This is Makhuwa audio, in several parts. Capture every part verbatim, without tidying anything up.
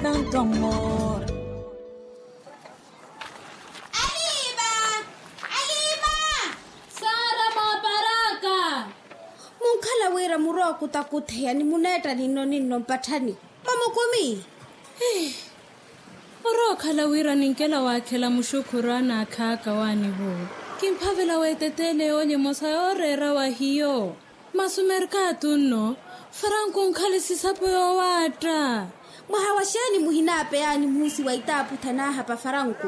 Tanto amor. Aliima. Aliima. Sara mwaparaka. Munkhala wira murwa okutakutheya ni muneetta ninno ninno mpatthani. Mamukumi. Orookhala wira ninkela waakhela muxukhuru anaakhaka waanivo. Kimphavela weeteteele yoolya emosa yooreera wa hiyo. Masi omerkatu nno, faranku onkhale sisapo yoowaatta. Mwaha wa xeeni muhinaapeyaani muhusi wa itaaputha naahapa faranku?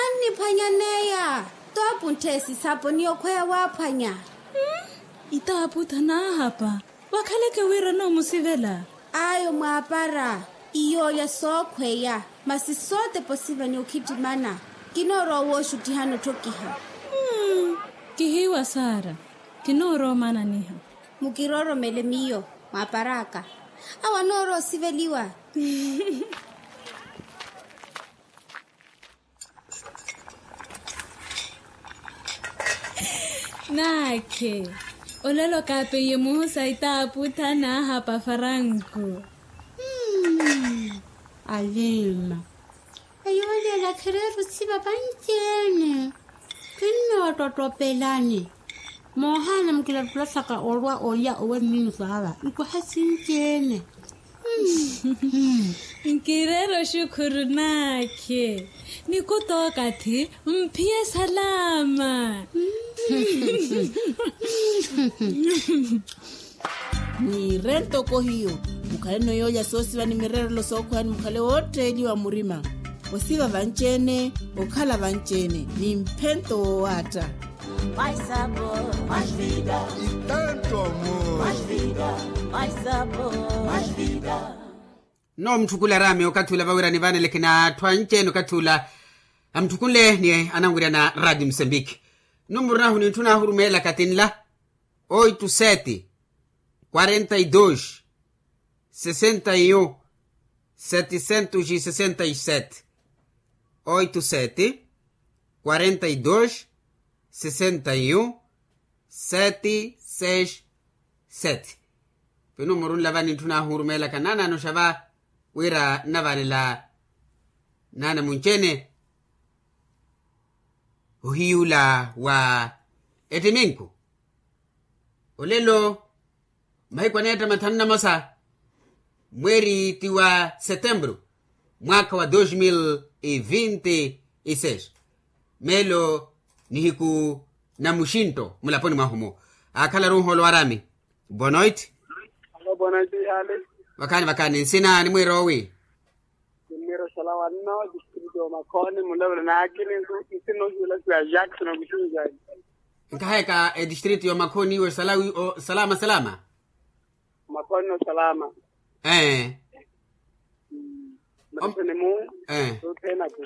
Anniphwanyaneya. Toopuntthe sisapo ni okhweya waaphwanya. Itaaputha naahapa. Wakhaleke wira noomusivela. Ayo mwaapara. Iyoolya sookhweya. Masi sootepa osiva ni okhittimana. Kinoorowa wooxuttihana otthokiha. Kihiiwa sara. Kinoorowa omananiha. Mukirooromele miyo. Mwaaparaka. Awo anoorowa osiveliwa. Naakhe. Olelo kaapeiye muhusa itaaputha naahapa faranku. Alima. Eyo olelo akhereera osiva vanci-ene. Kinnoottottopelani. Moohaana mukilattula saka olwa olya owe mmiiso ava nkoha sinci-ene. Nkireera oxukhuru naakhe. Nikuta okathi mphiye salama. Mwiire ntoko hiyo. Mukhaleno yoolya soosiva ni mireerelo sookhweya ni mukhale wootteeliwa murima. Osiva vanci-ene. Okhala vanci-ene ni mphento woowaatta. Mai sabor, mai vida. E tanto amor. Mai vida, mai sabor, mai vida. Nno mutthukhule araami okathi ula vawira nivaneleke n'atthu anci-ene okathi ula. Amutthukhunle ni ananwirya na radio musembiki. Numuru nahu nintthuna ahurumeelaka ti nla. Oito sete, quarenta e dois, sessenta e um, setecentos e sessenta e sete. Oito sete, quarenta e dois, sessenta e um, sete seis sete. Pinumuru nla va nintthuna ahurumeelaka naanaano xa va wira nnavanela naana munci-ene. Ohiyuula wa ettiminku. Olelo mahiku aneetta mathanu na mosa, mweeri ti wa setemburu, mwaakha wa dos mil e vinte e seis. Meelo nihiku na muxinto mulaponi mwahu-mu. Aakhalaru nhoolo waraami. Bonoit. Alo bonoit ihaali. Vakhaani vakhaani nsina nimwiira owi? Kinniira osalawa nno district y'omakhooni mulavula naakini nsu. Nsina ohiwela siya jackson okuxinjani. Nkahayaka edistrict y'omakhooni iwe salawi o salama salama. Omakhooni no salama. Ee. Mraseni mu. Ee. Tuthena ku.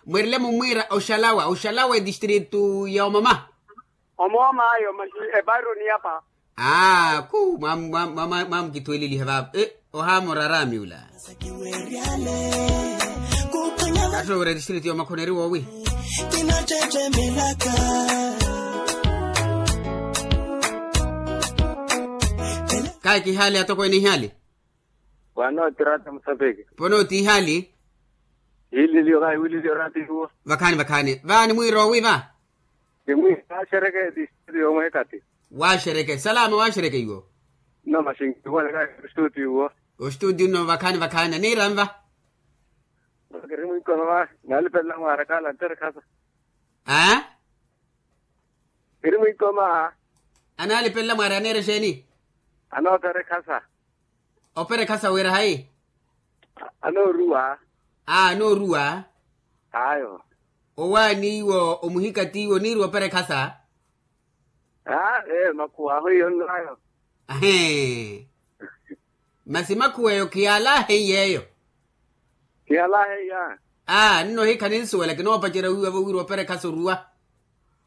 Mwerile mumwiira oxalawa oxalawa edistrict y'omama. Omooma ayo maxi epairo niyapa. Aa khu. Mwamukithuweleliha vaavo. Ohaamora araami ula. Attoowira district y'omakhoneri woowi. Kayi kihaali atokweene ihaali. Wanooti rata musapeke. Ponooti ihaali. Hiililiyo kayi wililiyo rata iwo. Vakhaani vakhaani vaani mwiiroowi va. Kimwiira waaxerekeya ti studio yomweekati. Waaxereke salama waaxereke iwo. Nno maxinkiwoneka ostudio iwo. Ostudio nno vakhaani vakhaani aniira nva. Kiri mwiikoma va. Naalipelela mwaara kaala ntere khasa. Aa. Kiri mwiikoma. Anaalipelela mwaara aneera exeeni? Anootere khasa. Opere khasa wira hayi? Anooruwa. Aa anooruwa. Ayo. Owaani iwo omuhika t'iwo oniiriwa opere khasa. Aa ee makhuwa ahu iyo nnayo. Ahee. Masi makhuwa eyo khiyaalaahe iy'eyo. Khiyaalaahe iya. Aa nno hikha ninsuwela kinoopacerya wiiwa vowiiriwa opere khasa oruwa.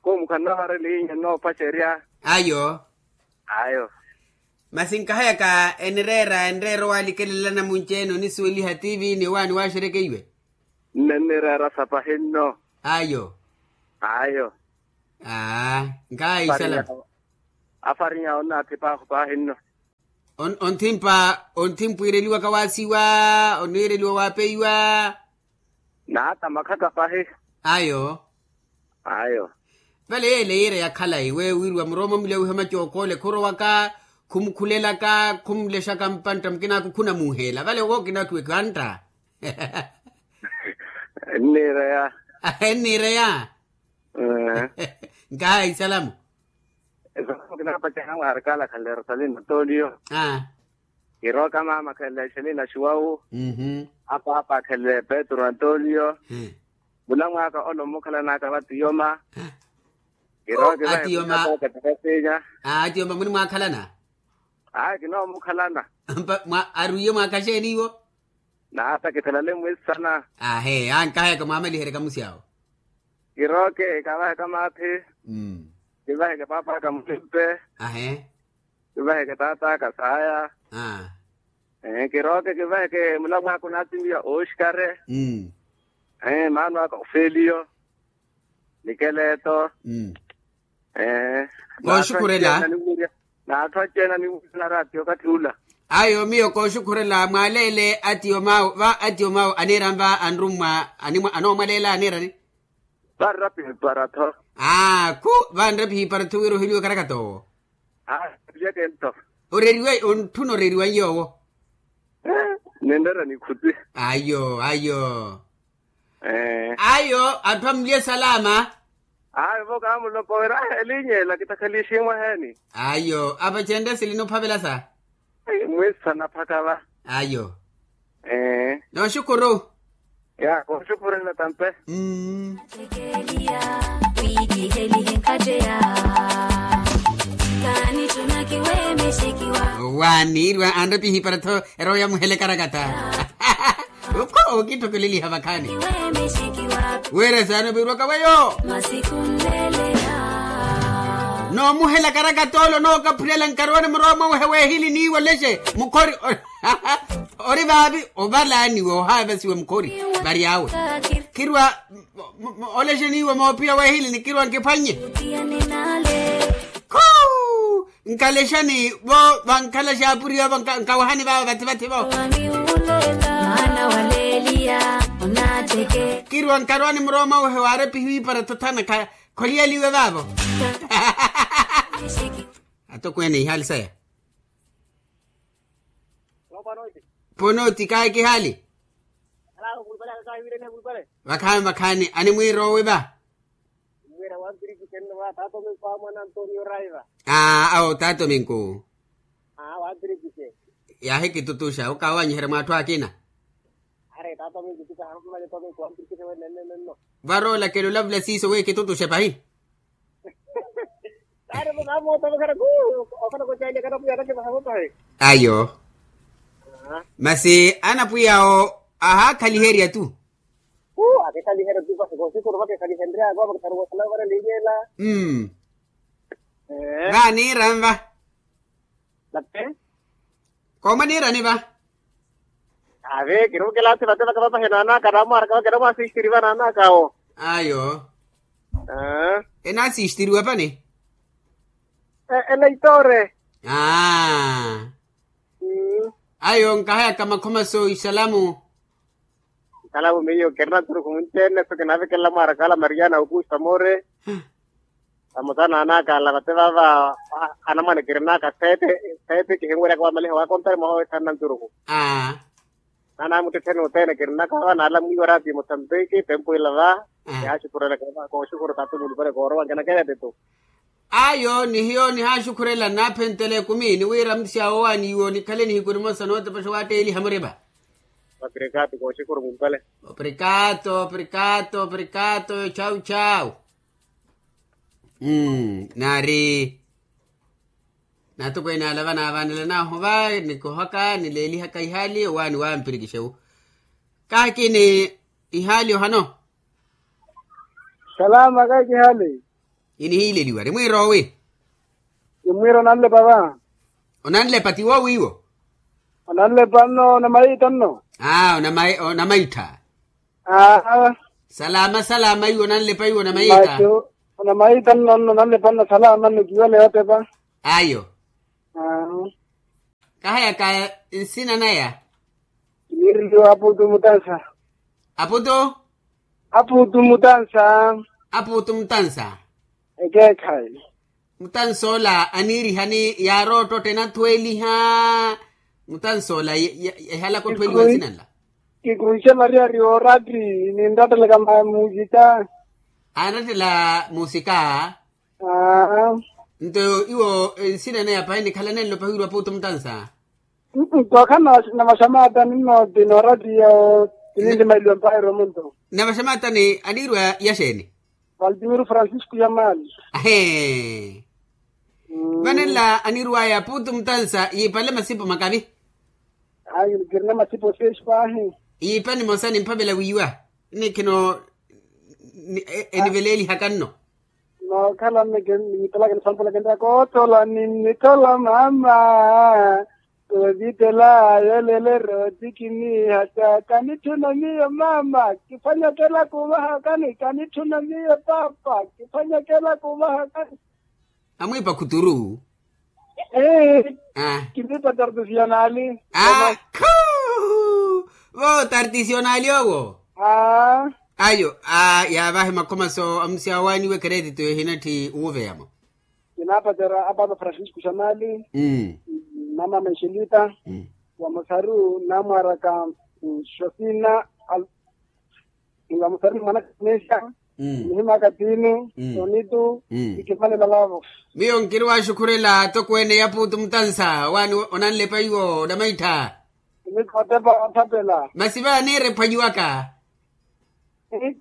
Khumu khannavarelihinya nnoopacerya. Ayo. Ayo. Masi nkahayaka enireera enireera owaalikelela namunci-ene onisuweliha tivi ni owaani waaxerekeiwe. Nnenireera sapahi nno. Ayo. Ayo. Aa. Nkaayi isalama. Afarinya onnaathipa ahu paahi nno. Ontthimpa ontthimpa wiireliwaka waasiwa, oniireliwa waapeiwa. Naata makhaka pahi. Ayo. Ayo. Vale yeele yiira ya khalayi we wiiriwa murooma mulya wiha macookole khurowaka, khumukhulelaka khumulexaka mpantta mukinaku khunamuuheela vale wo kinakiwe kantta. Enniireya. Enniireya. Nkaayi salamu. Esalamu kinaapacana mwaarikala khanle rosalina toliyo. Kirooka mama khanle exelina xiwawu. Apaapa khanle petru antoliyo. Mulamwaaka ole omukhalanaka vatiyoma. Kirooka atiyoma. Atiyoma munimwaakhalana. Ayi kinoomukhalana. Arwiye mwaakhaxeeni iwo. Naata kithalale mwisana. Ahe ankahayaka mwaamaliheryaka musi awo. Kirooke kavaheka maathi. Kivaheke paapaka mulimpe. Ahe. Kivaheke taataka saaya. Kirooke kivaheke mulamwaaka onaatimiya ooxikare. Maano aka ofeliyo. Nikeleto. Kooxukhurela. N'atthu anci-ene animwiirya naraati okathi ula. Ayo miyo kooxukhurela mwaaleele atiyo mawu va atiyo mawu aniira nva anrummwa. Anoomwaleela aniirani. Vanrapiha ipara-tho. Aa khu vanrapiha ipara-tho wira oheliwe okarakata owo. Aa. Oreriwe ontthuna oreriwa nyoowo. Ninreera nikhuti. Ayo ayo. Ayo atthu amulye salama. Ayo vo kaamulopa wira elinyela kitakhaliximwa heeni. Ayo apacenre silina ophavela sa. Mwiisa naphaka va. Ayo. Nooxukuru. Ya kooxukurela tampe. Waaniirwa anrepiha ipara-tho erowa yamuhela ekarakata. Ukho ookittokeleliha vakhaani. Wira saana ovirwaka weyo. Noomuhela karakatolo nookaphulela nkarwani murowa mwawehe weehili niiwo lexe mukhori. Ori vaavi ovalaaniwa ohaavasiwa mukhori. Vary'awe khirwa. Olexe niiwo moopiya weehili nikirwa nkiphwannye. Khu nkalexani vo vankhala xaapuriya vo nkawahani vaavo vathi vathi vo. Kirwa nkarwani murooma wehe waarepihiwa ipara thothana. Kholiyeliwe vaavo. Atokweene ihaali saya. Ponooti kaaki ihaali. Vakhaani vakhaani animwiira owi va. Aa awo tato minku. Yaahikitutuxa okawanyiherya mwaathu akina. Varoola kelo lavula siiso wi kitutuxe pahi. Ayo. Masi anapwiy'awo. Vaaniira nva. Koomaniirani va. Ave kiruukela athi vate vakavapahena anaka namwaraka vakera mwasistiri vana anaka awo. Ayo. Enasistiriwa pani. Eleitore. Aa. Ayo nkahayaka makhoma so isalamu. Nkalavu miyo kirina nturuku munci-ene so kinavekelela mwaaraka ala mariana okuuxa moore. Vamosa naanaka ala vate vava anamwane kirinaka sete. Sete kihinwerya kiwamaliha wakontari mwaha wethanna nturuku. Naana muttettheni othene kirinaka va naala mwiiwa raati mosambiki tempo ila va. Kihaaxukhurelaka va kooxukhuru tato mulupale koorowa nkinakeya tito. Ayo nihiyo nihaaxukhurela naaphentela ekumi niwiira mutisi awo owaaniiwo nikhale nihiku nimosa nootepexa owaatteeliha muriva. Oprikatu kooxukhuru mulupale. Oprikatu oprikatu oprikatu chau chau. Naari. Naatokweene ala vanaavanelanahu va nikohaka nileelihaka ihaali owaani wa mpirikixewu. Kaakini ihaali ohano. Salama kaakihali. Inihiileliwa ri mwiira owi. Ni mwiira onanlepa va. Onanlepa ti woowiiwo. Onanlepa nno onamaitta nno. Aa onamaitta. Aa. Salama salama iwo nanlepa iwo namayiita. Namayiita nno nno nanlepa nno salama nno kiwele yotepa. Ayo. Aa. Kahayaka nsina naya. Kiniireliwa aputu mutansa. Aputu. Aputu mutansa. Aputu mutansa. Ekeekhayi. Mutansa ola aniirihani yaaroottotte enathweeliha. Mutansa ola ehalaka othweeliwa nsina nla. Kikuxe maria ari ooratti. Ninrattelaka musika. Aanrattela musika. Nto iwo nsina naya pahi nikhalanenlo pahi wira aputu mutansa. Nto khana navaxamata ninno ti nooratti yawo. Kininti mailiwa mpahi romunto. Navaxamata ni aniirwa yaxeeni? Valtimiro francisco yamali. Ahe. Vanenla anirwaya aputu mutansa yiipale masipo makavi. Ayi kirina masipo seis pahi. Yiipa nimosa nimphavela wiiwa. Nikhino eniveleelihaka nno. Nookhala nne kinnipelaka nisampulaka nttaka oothola ninnithola mama. Koovittela yelelero ti kiniihatta kanitthuna miyo mama. Kiphwanyakela kuuvahakani kanitthuna miyo paapa. Kiphwanyakela kuuvahakani. Amwiipa khuturu. Kiniipa tartisionali. Khu. Vo tartisionali owo. Ayo. Yaavahi makhomaso amusi awaaniwe keretito ehinatthi uwuveyamo. Kinaapatera apaapa francisco xamali. Mama menxelita. Wa musaru namwaraka. Xosina. Wa musaru mwanaka nesha. Nihimaka tini. Tonitu. Ikimanela lavo. Miyo nkiri waxukhurela atokweene ya puutu mutansa waani onanlepa iwo onamaittha. Masi vaaniire phwanyiwaka.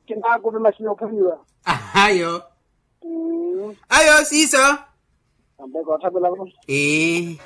Kinaakupi masi yoophwanyiwa. Ayo. Ayo siiso. Ambe koothapelavo. Ee.